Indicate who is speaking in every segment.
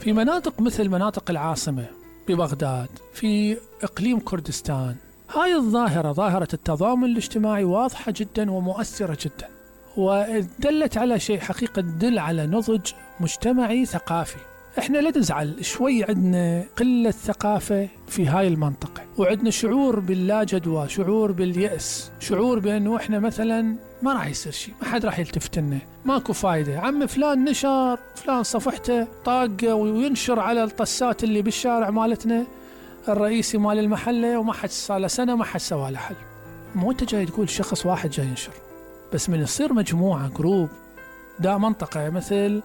Speaker 1: في مناطق مثل مناطق العاصمة ببغداد، في إقليم كردستان، هاي الظاهرة، ظاهرة التضامن الاجتماعي، واضحة جدا ومؤثرة جدا، ودلت على شيء حقيقة، تدل على نضج مجتمعي ثقافي. احنا لا نزعل شوي، عندنا قلة ثقافة في هاي المنطقة، وعندنا شعور باللا جدوى، شعور باليأس، شعور بأنه احنا مثلا ما راح يصير شيء، ما حد راح يلتفت لنا، ماكو فايدة. عم فلان نشر، فلان صفحته طاقة وينشر على الطسات اللي بالشارع مالتنا الرئيسي مال المحلة، وما حد صار له سنة ما حد سوى له حل. مو انت جاي تقول شخص واحد جاي ينشر، بس من يصير مجموعة جروب، دا منطقة مثل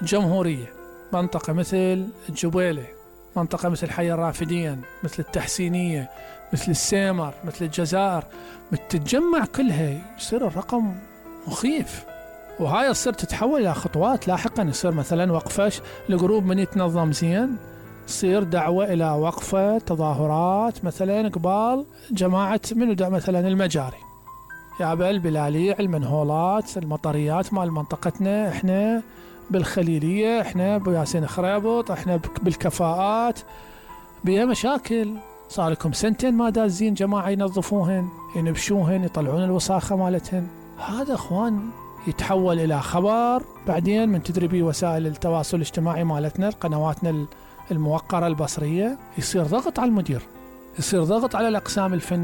Speaker 1: الجمهورية، منطقة مثل الجبيلة، منطقة مثل حي الرافدين، مثل التحسينية، مثل السيمر، مثل الجزائر، تتجمع كلها، يصير الرقم مخيف. وهاي تصير تتحول إلى خطوات لاحقا، يصير مثلا وقفة الجروب من يتنظم زين، تصير دعوة إلى وقفة تظاهرات مثلا قبال جماعة من مثلا المجاري، يا البلاليع، المنهولات، المطريات مال منطقتنا، احنا بالخليلية، احنا بياسين خريبط، احنا بالكفاءات بيها مشاكل، صار لكم سنتين ما دازين جماعة ينظفوهن، ينبشوهن، يطلعون الوساخة مالتهن. هذا اخوان يتحول الى خبر بعدين من تدريبي وسائل التواصل الاجتماعي مالتنا، قنواتنا الموقرة البصرية، يصير ضغط على المدير، يصير ضغط على الأقسام الفنية.